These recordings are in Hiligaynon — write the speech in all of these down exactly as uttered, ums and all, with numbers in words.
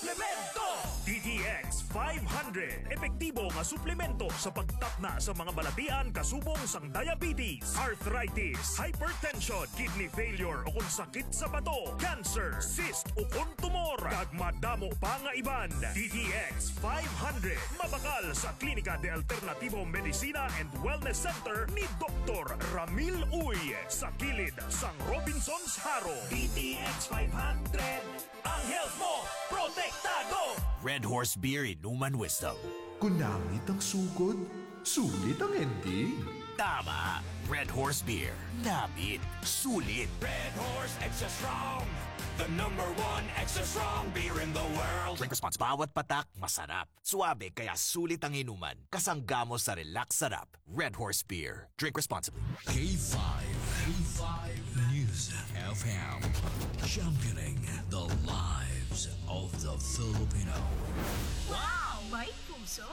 Suplemento! D T X five hundred. Epektibo nga suplemento sa pagtakna sa mga balatian kasubong sang diabetes, arthritis, hypertension, kidney failure o kung sakit sa bato, cancer, cyst o kung tumor, kag madamo pa nga iban. D T X five hundred. Mabakal sa Klinika de Alternativo Medicina and Wellness Center ni Doktor Ramil Uy, sa kilid sang Robinsons Jaro. D T X five hundred. Ang health mo, protektado! Red Horse Beer Inuman Wisdom. Kung namit ang sugod, sulit ang ending. Tama! Red Horse Beer. Namit. Sulit. Red Horse Extra Strong, the number one extra strong beer in the world. Drink response. Bawat patak, masarap. Suabe, kaya sulit ang inuman. Kasangga mo sa relax sarap. Red Horse Beer. Drink responsibly. K five, K five News F M, championing the lives of the Filipino. Wow! May puso!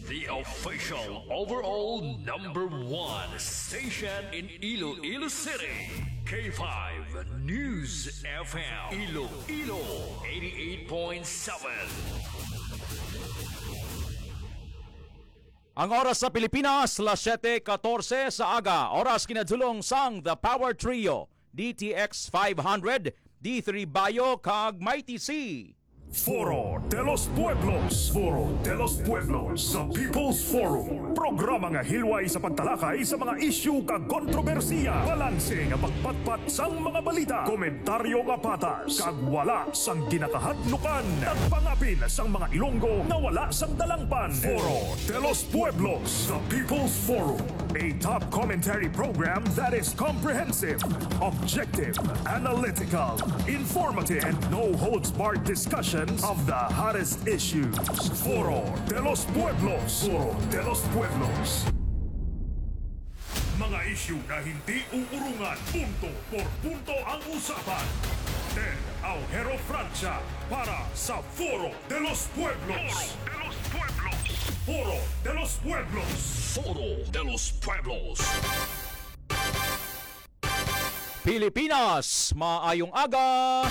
The official overall number one station in Iloilo City. K five News F M, Iloilo, eighty-eight point seven. Ang oras sa Pilipinas, las siete katorse sa aga. Oras kinadulong sang The Power Trio, D T X five hundred, D three Bayo, kag Mighty C. Foro de los Pueblos. Foro de los Pueblos, the People's Forum. Programa nga hilway sa pagtalakay sa mga isyu kag kontrobersiya. Balanse nga pagpatpat sang mga balita. Komentaryo nga patas kag wala sang ginakahadlukan. Nagpangapin sang mga Ilonggo nga wala sang dalangpan. Foro de los Pueblos, the People's Forum. A top commentary program that is comprehensive, objective, analytical, informative, and no holds barred discussions of the hottest issues. Foro de los Pueblos. Foro de los Pueblos. Mga isyu na hindi uurungan, punto por punto ang usapan. Ted Aujero Francia para sa Foro de los Pueblos. Foro de los Pueblos. Foro de los Pueblos. Foro de los Pueblos. Pilipinas, maayong aga.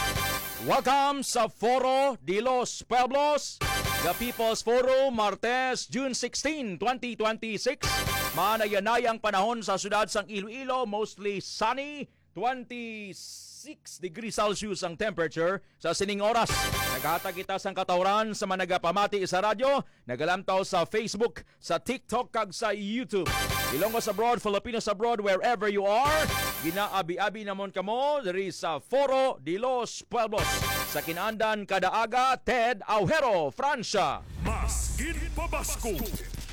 Welcome sa Foro de los Pueblos, the People's Forum, Martes, June sixteen, twenty twenty-six. Maanayanay ang panahon sa siyudad sang Iloilo, mostly sunny, twenty-six degrees Celsius ang temperature sa sining oras. Naghatag kita sang katawran sa mga nagapamati sa radyo, nagalantaw sa Facebook, sa TikTok, kag sa YouTube. Ilonggos abroad, Filipinos abroad, wherever you are, ginaabi-abi namon kamo diri sa Foro de los Pueblos, sa kinaandan kada aga, Ted Aujero, Francia. Mas ginpabaskog,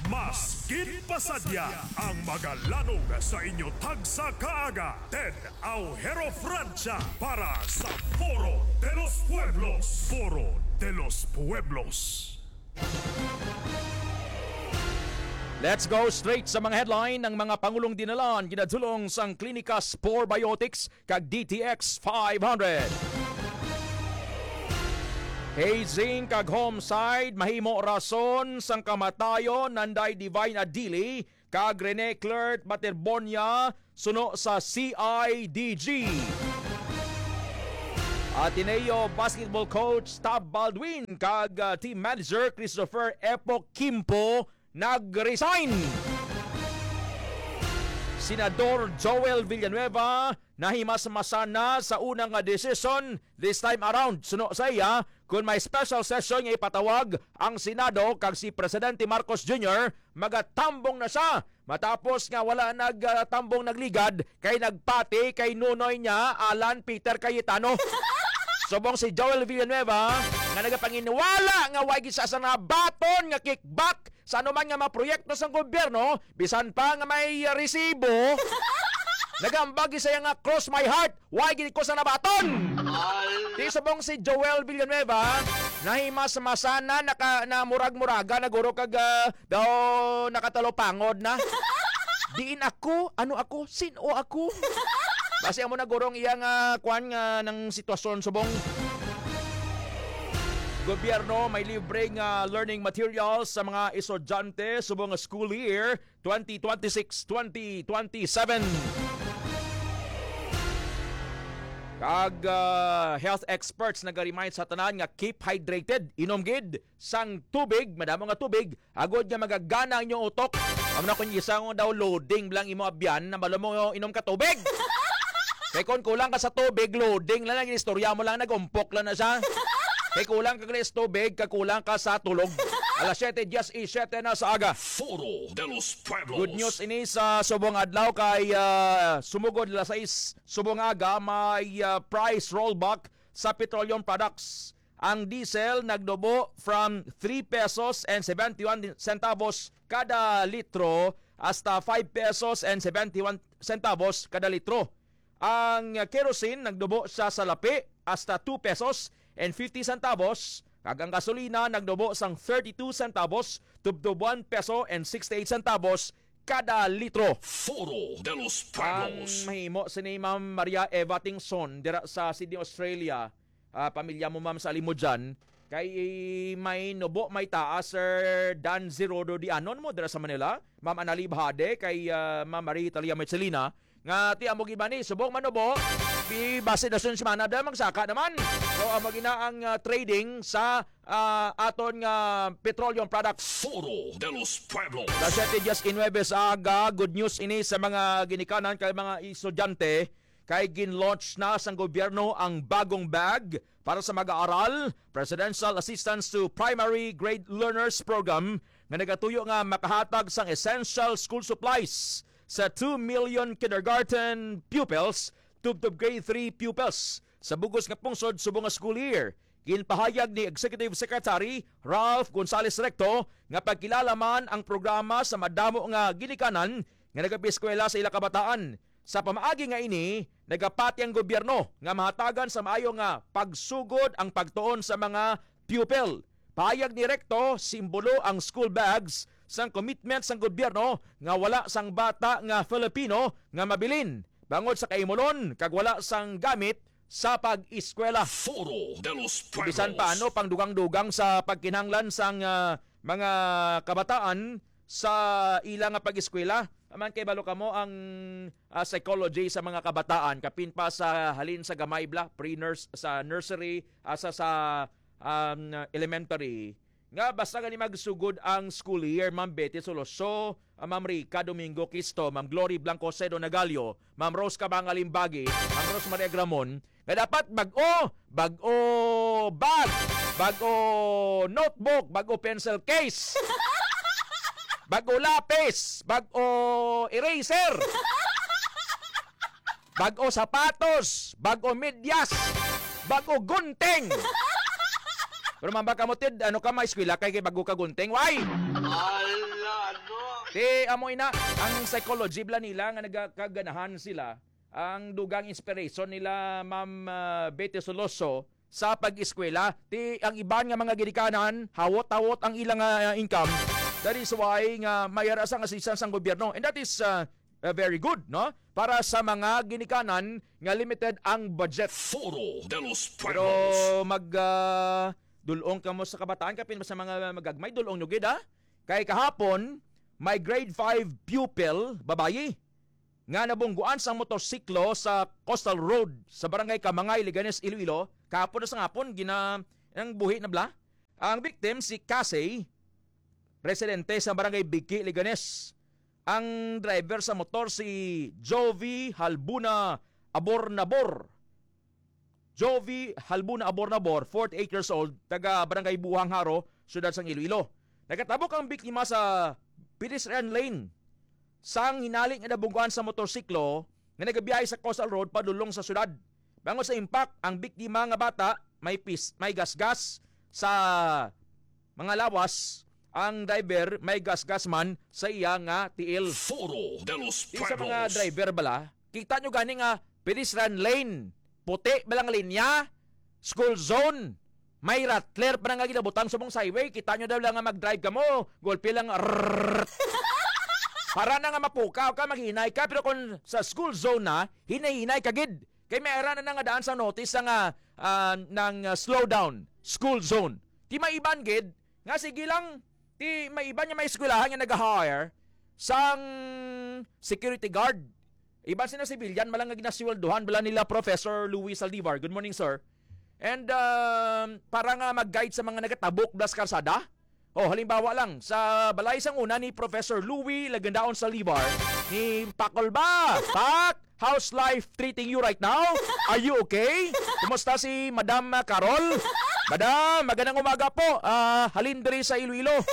mas ginpasadya ang magalanog sa inyo tagsa kaaga. Ted Aujero Francia para sa Foro de los Pueblos. Foro de los Pueblos. Let's go straight sa mga headline. Ang mga pangulong dinalan ginadulong sang Klinika Spore Biotics kag D T X five hundred. Hazing kag homicide mahimo rason sang kamatayon, nanday Divine Adili kag Rene Clert Baterbonia suno sa C I D G. Ateneo basketball coach Tab Baldwin kag, ah, team manager Christopher Epo Kimpo nag-resign. Senador Joel Villanueva nahimasmasan na sa una nga desisyon this time around. Suno sa iya, kung may special session nga ipatawag ang Senado kag si Presidente Marcos Junior, magatambong na siya. Matapos nga wala nagtambong, nagligad, kay nagpati kay nunoy niya, Alan Peter Cayetano. Subong si Joel Villanueva, nga nagapanginwala nga way gid sa, sa nabaton nga kickback sa anuman nga mga proyekto sang gobyerno, bisan pa nga may resibo, nagambag siya nga, "Cross my heart, way gid ko sa nabaton." Di subong si Joel Villanueva, nahimasmasan na, naka, na murag-muraga na guro kag, ah, daw nakatalupangod na. Diin ako? Ano ako? Sino ako? Basi amo na guro ang iya nga, ah, kwan nga ng sitwasyon subong. Gobyerno may libre nga learning materials sa mga estudyante subong nga school year twenty twenty-six, twenty twenty-seven. Kag ah, health experts naga-remind sa tanan nga keep hydrated, inom gid sang tubig, madamo nga tubig, agod nga magagana ang inyong utok. Amo na kung isa nga daw loading lang imo abyan, na balo mo inom ka tubig. Kay kung kulang ka sa tubig, loading lang, istorya mo lang, nag-umpok lang na siya. Kay kulang ka sa tubig, kakulang ka sa tulog. Alas siyete diez y siete na sa aga. Foro de los Pueblos. Good news ini sa subong adlaw kay ah, sumugod alas sais subong aga may ah, price rollback sa petroleum products. Ang diesel nagdubo from three pesos and seventy-one centavos kada litro hasta five pesos and seventy-one centavos kada litro. Ang kerosene nagdubo siya sa lapi hasta two pesos and fifty centavos, kag ang gasolina nagdubo sang thirty-two centavos tubtob one peso and sixty-eight centavos kada litro. Foro de los Ang Pueblos. Mahimo sini, Ma'am Maria Eva Tingson, dira sa Sydney, Australia. Ah, pamilya mo, ma'am, sa Alimodian. Kay may nubo, may taas, Sir Dan Zerodo Dianon mo dira sa Manila. Ma'am Anali Bahade, kay ah, Ma'am Marie Italia Marcelina. Nga ti amo gid man ni, subong manubo, di base na sun semana da magsaka naman. So amo gina ang ah, trading sa ah, aton nga petroleum products. Foro de los Pueblos. Alas siyete diez y nueve sa aga, good news ini sa mga ginikanan kay mga estudyante, kay gin-launch na sang gobyerno ang bagong bag para sa mag-aaral, Presidential Assistance to Primary Grade Learners Program, nga nagatuyo nga makahatag sang essential school supplies sa two million kindergarten pupils tubtob grade three pupils sa bug-os nga pungsod subong nga school year. Ginpahayag ni Executive Secretary Ralph Gonzales Recto nga pagkilala man ang programa sa madamo nga ginikanan nga nagapaeskwela sa ila kabataan. Sa pamaagi nga ini, nagapati ang gobyerno nga mahatagan sa maayo nga pagsugod ang pagtuon sa mga pupil. Pahayag ni Recto, simbolo ang school bags sang commitment sang gobyerno nga wala sang bata nga Filipino nga mabilin bangod sa kaimulon kag wala sang gamit sa pag-eskwela. Foro de los Pueblos. Bisan pa ano pang dugang-dugang sa pagkinahanglan sang ah, mga kabataan sa ila nga pag-eskwela. Aman kay balo kamo ang ah, psychology sa mga kabataan, kapin pa sa halin sa gamay bla, pre-nurse, sa nursery, asa sa um, elementary, nga basta gani magsugod ang school year, Ma'am Betty Soloso, ah, Ma'am Rica Domingo Quisto, Ma'am Glory Blanco Cedo Nagalio, Ma'am Rose Cabanga Limbagi, Ma'am Rose Maria Gramon, nga dapat bag-o, bag-o bag, bag-o notebook, bag-o pencil case, bag-o lapis, bag-o eraser, bag-o sapatos, bag-o medyas, bag-o gunting. Pero mamba ka mo, Tid, ano ka, may eskwela kay, kay bago ka gunting? Why? Ala, no? Ti, amo ina, ang psychology bla nila nga nagkaganahan sila, ang dugang inspiration nila, Ma'am ah, Betty Soloso, sa pag-eskwela. Ti, ang iban nga mga ginikanan, hawot-hawot ang ilang ah, income. That is why nga may ara sang assistance ang gobyerno. And that is ah, ah, very good, no? Para sa mga ginikanan nga limited ang budget. Foro de los Pero Pueblos. mag ah, dulong kamo sa kabataan, kapin sa mga magagmay, dulong nyo gid, ha? Kay kahapon, may grade five pupil, babayi, nga nabungguan sang motorsiklo sa Coastal Road sa Barangay Kamangay, Leganes, Iloilo, kahapon na sa hapon, gina ang buhi na bla. Ang victim si Casey, residente sa Barangay Biki, Leganes. Ang driver sa motor si Jovi Halbuna Abornabor. Jovi Halbuna Abornabor, forty-eight years old, taga Barangay Buhang Haro, siyudad sang Iloilo. Nagkatabok ang biktima sa pedestrian lane sang hinali nga nabungguan sa motorsiklo nga nagabiyahe sa Coastal Road padulong sa syudad. Bangod sa impact, ang biktima nga bata may pis, may gasgas sa mga lawas, ang driver may gasgas man sa iya nga tiil. Foro de los Di sa mga Pueblos. Driver bala, kita nyo gani nga pedestrian lane, puti ba lang linya, school zone, may rattler pa na nga ginabutang sa mong highway, kita nyo daw lang nga mag-drive ka mo, golpe lang, rrrr. Para na nga mapukaw ka, maghinay ka, pero kung sa school zone na, hinay-hinay ka gid. Kay may ara na nga daan sa notice sa nga ah, ng ah, slowdown, school zone. Ti may iban gid nga sige lang, ti may iban nga may eskwelahan nga nag-hire sang security guard. Iban sina civilian, malang nga ginasweldohan bala nila Professor Louis Saldivar. Good morning, sir. And, um, para nga mag-guide sa mga nagatabok bala sa karsada. Oh, halimbawa lang, sa balay sang una ni Professor Louis Lagandaon Saldivar, ni Pakol ba? Pak, how's life treating you right now? Are you okay? Kumusta si Madam, ah, Carol? Madam, magandang umaga po. Ah, halin diri sa Iloilo.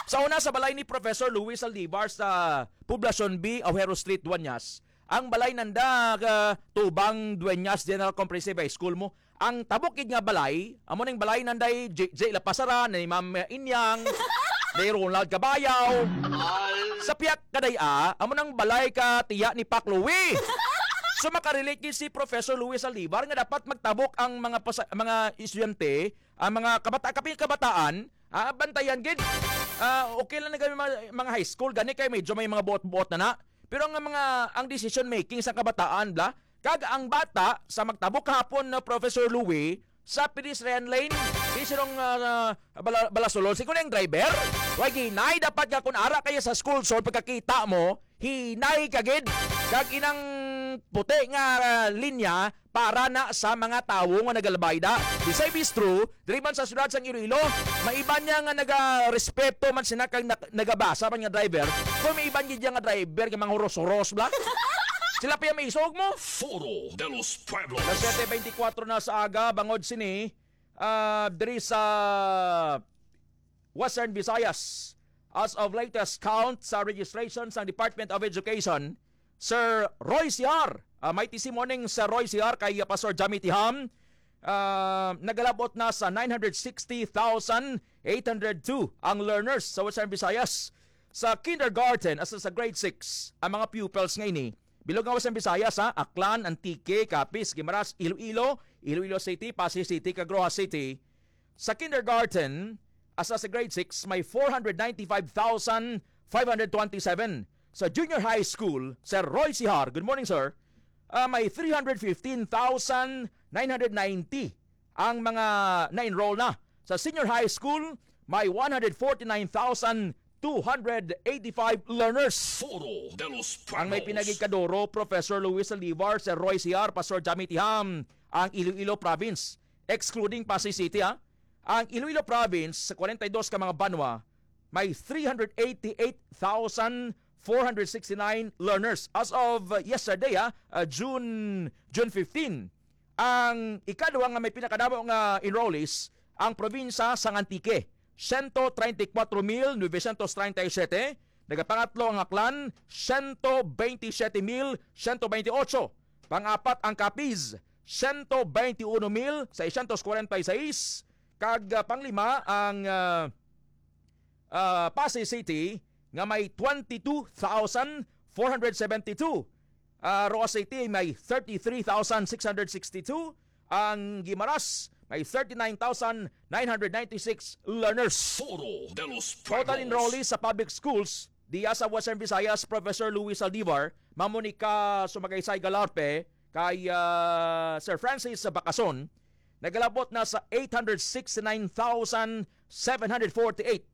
Sa una, sa balay ni Professor Louis Saldivar sa Poblacion B, Ojero Street, Dueñas. Ang balay nanda, ah, tubang Dueñas General Comprehensive High School mo. Ang tabok gid nga balay, amo ning balay nanday J J Lapasaran, ni Ma'am Inyang, ni Ronald Cabayaw. Sa piyak kadaya, amo nang balay ka tiya ni Pak Louie. So, makarelate gid si Professor Louis Saldivar nga dapat magtabok ang mga pasa-, mga estudyante, ang mga kabata-, kapin kabataan, ah, bantayan gid. Ah, okay lang na kami mga, mga high school, gani kay medyo may mga buot-buot na na. Pero ang mga, ang decision making sa kabataan, bla, kag ang bata sa magtabok kahapon na Professor Louie sa pedestrian lane, di sirong, ah, bala-, balasulon. Si kunang driver, way hinay dapat nga kung ara kaya sa school zone, pagkakita mo, hinay ka gid. Kag inang puti nga, ah, linya para na sa mga tawo nga nagalabayda. Bisay bistro, diri man sa siyudad sang Iloilo, may iban niya nga nagarespeto man sina kag nag-, nagabasa man nga driver. Kung may iban gid nga driver nga mga huros-huros, bla. Sila pa yung maisog mo. Foro de los Pueblos. Alas siyete beintikwatro na sa aga, bangod sini, ah, diri sa Western Visayas. As of latest count sa registration sang Department of Education, Sir Roy Siar. Ah, mighty C morning, Sir Roy Siar, kay, ah, Pastor Jamie Tiham. Ah, nagalabot na sa nine hundred sixty thousand eight hundred two ang learners sa Western Visayas. Sa kindergarten as sa grade six, ang mga pupils nga ini, bilog nga Western Visayas, ha, Aklan, Antique, Capiz, Guimaras, Iloilo, Iloilo City, Passi City, kag Roxas City. Sa kindergarten, as sa grade six, may four hundred ninety-five thousand five hundred twenty-seven. Sa junior high school, Sir Roy Sihar, good morning, sir, ah, may three hundred fifteen thousand nine hundred ninety ang mga na-enroll na. Sa senior high school, may one hundred forty-nine thousand two hundred eighty-five learners. Foro de los Pueblos. Ang may pinagigkaduro, Professor Luis Saldivar, Sir Roy Sihar, Pastor Jamie Tiham, ang Iloilo Province, excluding Pasay City, ha? Ang Iloilo Province, sa forty-two ka mga banwa, may three hundred eighty-eight thousand four hundred sixty-nine learners as of, uh, yesterday, ha, uh, June, June fifteen. Ang ikadua nga may pinakadamo nga enrollees, ang probinsya sang Antique, siyento treinta y cuatro mil novecientos treinta y siete. Nagapangatlo ang Aklan, siyento veintisiete mil siyento veintiocho. Pang-apat ang Capiz, siyento veintiuno mil seiscientos cuarenta y seis. Kag, ah, panglima ang, ah, ah, Pasay City nga may twenty-two thousand four hundred seventy-two. Ah, Roxas City may thirty-three thousand six hundred sixty-two. Ang Guimaras may thirty-nine thousand nine hundred ninety-six learners. Foro de los Total Pueblos. Enrollees sa public schools diya sa Western Visayas, Professor Luis Saldivar, Ma'am Monica Sumagaysay Galarpe, kay, ah, Sir Francis Bacason, nagalabot na sa eight hundred sixty-nine thousand seven hundred forty-eight.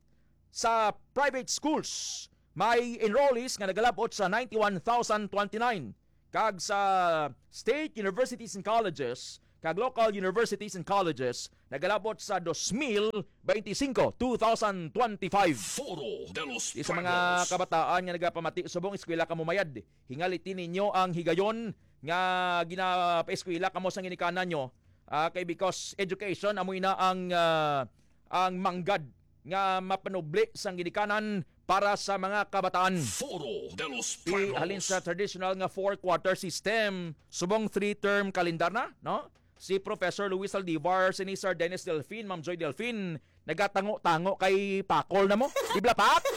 Sa private schools, may enrollees nga nagalabot sa ninety-one thousand twenty-nine, kag sa state universities and colleges kag local universities and colleges nagalabot sa dos mil beintisinko, two thousand twenty-five. Foro de los Di sa mga Pueblos. Kabataan nga nagapamati, subong eskwela kamo mayad, hingaliti ninyo ang higayon nga ginapaeskwela kamo sa ginikanan nyo. Ah, kay because education amo ina ang, ah, ang manggad nga mapanubli sang ginikanan para sa mga kabataan. Foro de los Pueblos. Halin sa traditional nga four-quarter system, subong three-term kalendar na, no? Si Professor Luis Saldivar, si ni Sir Dennis Delfin, Ma'am Joy Delfin, nagatango-tango kay Pakol na mo. Di bala, Pak?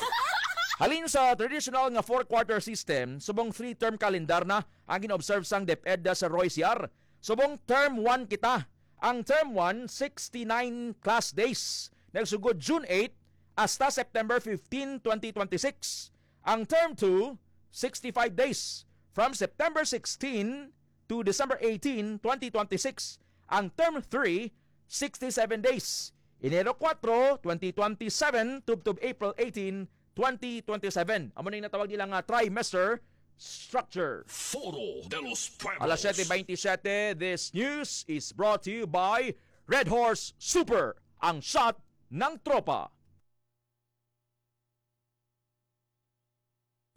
Halin sa traditional nga four-quarter system, subong three-term kalendar na ang gina-observe sang DepEd sa Roy Siar. Subong term one kita. Ang term one, sixty-nine class days. Nagsugod June eight hasta September fifteen, twenty twenty-six. Ang term two, sixty-five days. From September sixteen to December eighteen, twenty twenty-six. Ang term three, sixty-seven days. Enero kuwatro, twenty twenty-seven, tubtob April eighteen, twenty twenty-seven. Amo na yung natawag nila nga trimester, Structure. Foro de los Pueblos. Alas siyete bentisiete, this news is brought to you by Red Horse Super, ang shot ng tropa.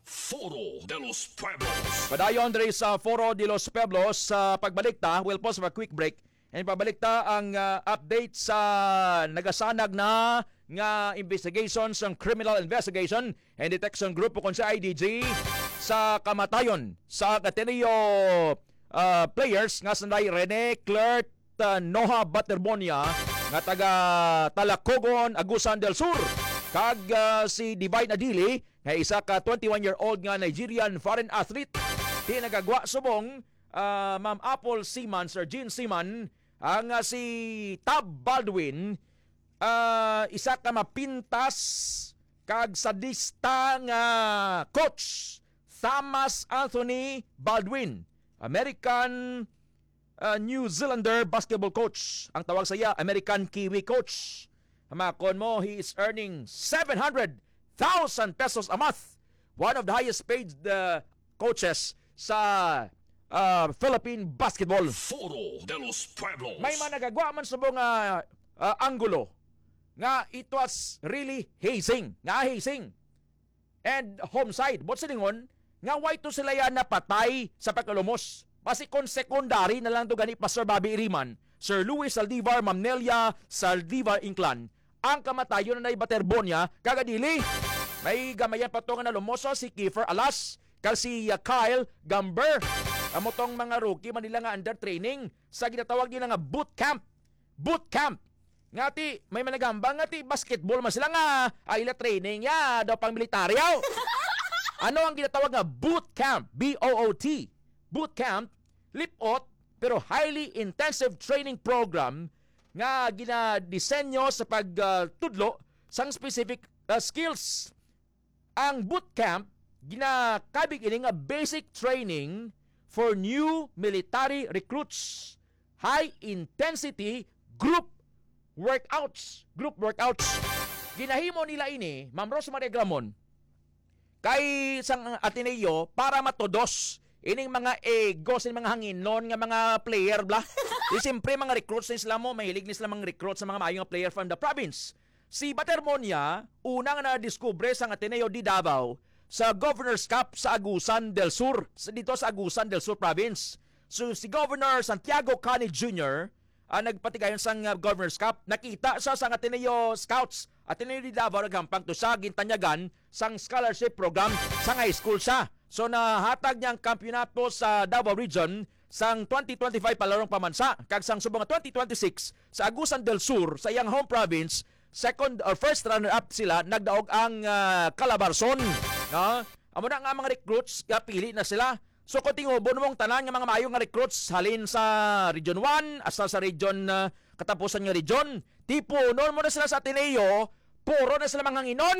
Foro de los Pueblos. Padayon diri sa Foro de los Pueblos, sa pagbalik ta, we'll pause for a quick break. And pagbalik ta ang, ah, update sa nagasanag na nga investigation sang Criminal Investigation and Detection Group o kon sa I D G sa kamatayon sa Ateneo, ah, players nga sanday Rene Clert, ah, Noha Baterbonia nga taga Talacogon, Agusan del Sur, kag, ah, si Divine Adili nga isa ka twenty-one-year-old nga Nigerian foreign athlete. Di nagagwa subong, ah, Ma'am Apple Seaman, Sir Gene Seaman, ang, ah, si Tab Baldwin, ah, isa ka mapintas kag sadista nga coach, Thomas Anthony Baldwin, American, ah, New Zealander basketball coach. Ang tawag sa iya, American Kiwi coach. Hamakon mo, he is earning seven hundred thousand pesos a month. One of the highest paid, uh, coaches sa, uh, Philippine basketball. Foro de los Pueblos. May mga nagagwa man subong nga, uh, anggulo nga it was really hazing. Nga hazing. And homicide. Buot silingon, nga wala to sila ya napatay sa pagkalumos. Basi kon secondary na lang to gani, Pastor Bobby Iriman, Sir Louis Saldivar, Ma'am Nelia Saldivar Inclan, ang kamatayon na Baterbonia, kag Adili. May gamayan pa to nga nalumos, oh, si Kiefer Alas, kag si, uh, Kyle Gamber. Amo tong mga rookie man nila nga under training sa ginatawag nila nga boot camp. Boot camp. Nga ti, may managambang nga ti basketball man sila nga, ay, ila training ya, daw pang militaryo. Ano ang ginatawag nga boot camp? B O O T. Boot camp, lipot, pero highly intensive training program nga ginadesenyo sa pag, ah, tudlo sang specific, ah, skills. Ang boot camp, ginakabig ini nga basic training for new military recruits, high intensity group workouts, group workouts. Ginahimo nila ini, Ma'am Rosemary Agramon, kay sang Ateneo para matudos ining mga ego sa mga hanginon nga mga player bla. Di siyempre, mga recruits ni sila mo, mahilig ni sila mga recruit sa mga maayo nga player from the province. Si Batermonia, una nga nadiskubre sang Ateneo de Davao sa Governor's Cup sa Agusan del Sur, sa, dito sa Agusan del Sur Province. So, si Governor Santiago Cani Junior ang nagpatigayon sang, uh, Governor's Cup. Nakita siya sang Ateneo Scouts, Ateneo de Davao, naghampang to siya, gintanyagan sang scholarship program sang high school siya. So, nahatag niya ang kampiyonato sa Davao Region sang twenty twenty-five palarong pamansa, kag sang subong nga twenty twenty-six sa Agusan del Sur, sa iyang home province, second or first runner-up sila, nagdaog ang, ah, Calabarzon, no? Amo na nga mga recruits, nga pili na sila. So, kung tingubon mo ang tanan nga mga maayo nga recruits, halin sa Region one hasta sa region, ah, katapusan nga region, tipunon mo na sila sa Ateneo, puro na sila mga hanginon,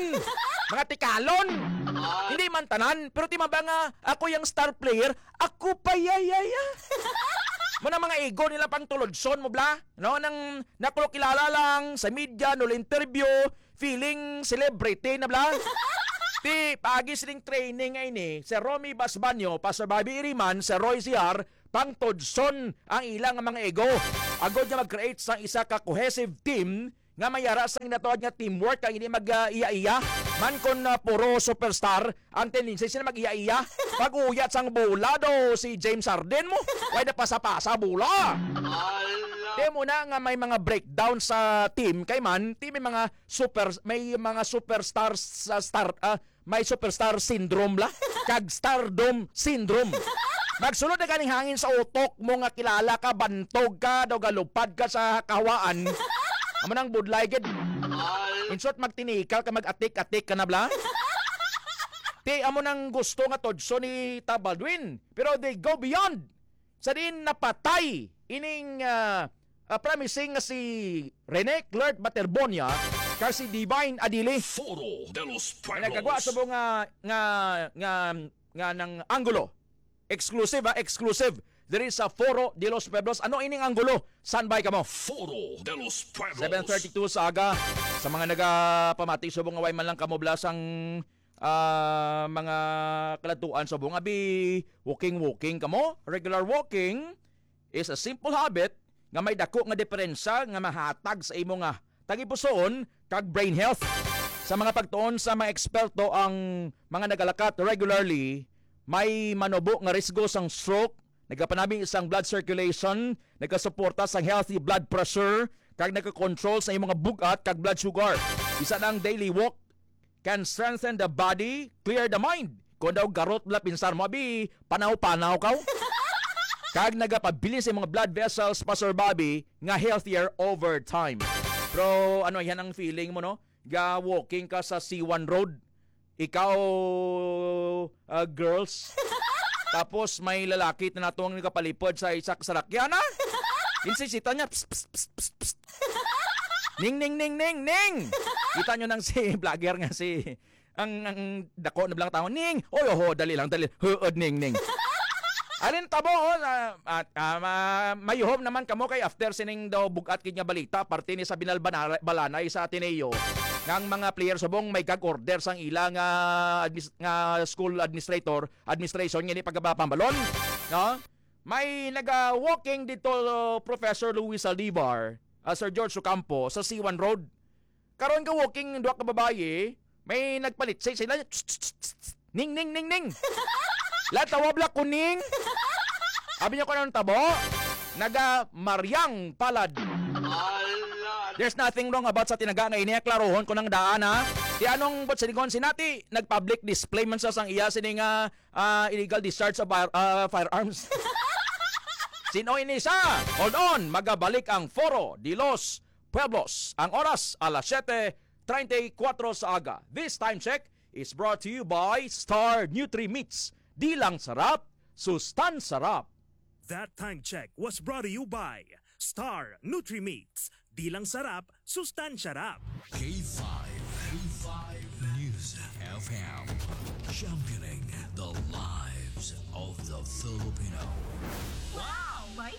mga tikalon. Hindi man tanan, pero ti man ba nga ako yung star player, ako pa yayaya. Mo na mga ego nila pang tulodson mo bla, no? Nang nakulo kilala lang sa media, no interview, feeling celebrity na bla. Ti pagi sining training nga ini, si Romy Basbanyo, Pastor Bobby Iriman, si Roy Siar, pang tudson ang ilang mga ego. Agod nga mag-create sang isa ka cohesive team nga may ara sang ginatawag nga teamwork kag hindi mag, ah, iya-iya. Man kon, ah, puro superstar, ang tendency sila mag-iya-iya. Pag-uyat sang bola do si James Harden mo, way na pasa-pasa bola. Ala. Di mo na nga may mga breakdown sa team kay man, ti may mga super, may mga superstar sa star, ah, may superstar syndrome la, kag stardom syndrome. Magsulod na ganing hangin sa utok mo nga kilala ka, bantog ka, daw galupad ka sa kahawaan. Amo nang budlay gid. In short, magtinikal ka, mag-atik-atik ka na bla. Ti amo nang gusto nga tudson ni Tab Baldwin. Pero they go beyond. Sa diin napatay ining, ah, ah, promising nga si Rene Clert Baterbonia kag si Divine Adili. Foro de los Pueblos. Nagkagwa sa mo nga, nga, nga, nga nang anggulo. Exclusive, ha? Exclusive. Diri sa Foro de los Pueblos. Ano ining anggulo? Standby kamo. Foro de los Pueblos. Seven thirty-two sa aga. Sa mga nagapamati, subong nga way man lang kamo blasang ah, mga kaladtuan subong, abi, walking-walking kamo. Regular walking is a simple habit nga may dako nga diperensya nga mahatag sa imo nga tagipusoon kag brain health. Sa mga pagtuon sa mga eksperto, ang mga nagalakat regularly may manubo nga risgo sang stroke, nagapanami sang blood circulation, nagasuporta sang healthy blood pressure, kag nagakontrol sa imong mga bug-at kag blood sugar. Bisan ang daily walk can strengthen the body, clear the mind. Kung daw garot lang pinsar mo, abi, panaw-panaw ka. Kag nagapabilin sa imong blood vessels pa, Sir Bobby, nga healthier over time. Pero ano, yan ang feeling mo, no? Ga walking ka sa C one Road. Ikaw, ah, girls. Tapos may lalaki na nato ang nagapalipod sa isa ka sarakyan, ha? Insisita niya, "Psst, psst, psst, psst, psst." "Ning, ning, ning, ning, ning!" Kita nyo nang si vlogger nga si, ang, ang dako na lang tao, "Ning! Oy, oho, dali lang, dali. Huod, ning, ning." Alin tabo, oh, ah, at, ah, ma-, mayuhom naman kamo kay after sining daw bugat gid nga balita, parte ni sa binalbanara-, balanay sa Ateneo, nga ang mga player subong may gag order sang ila nga admis-, nga school administrator, administration, ngini pagkabapambalon, no? May naga-walking dito, Professor Luis Saldivar, ah, Sir George Ocampo, sa C one Road. Karon ka walking, duha ka babayi, may nagpalit sa sila. "Ning, ning, ning, ning." La, tawag la ko, "Ning." Abi niya ko anong tabo? Naga Mariang Palad. There's nothing wrong about sa tinaga nga ini. Klarohon ko nang daan, ha. Ti anong buot silingon si Nati? Nag-public display man sa sang iya sini nga, ah, illegal discharge of fire-, ah, firearms. Sino ini siya? Hold on, magabalik ang Foro de los Pueblos. Ang oras, alas siyete treinta y cuatro sa aga. This time check is brought to you by Star Nutri Meats. Di lang sarap, sustan sarap. That time check was brought to you by Star Nutri Meats. Di lang sarap, sustansya rap. K five, K five News F M, championing the lives of the Filipino. Wow! May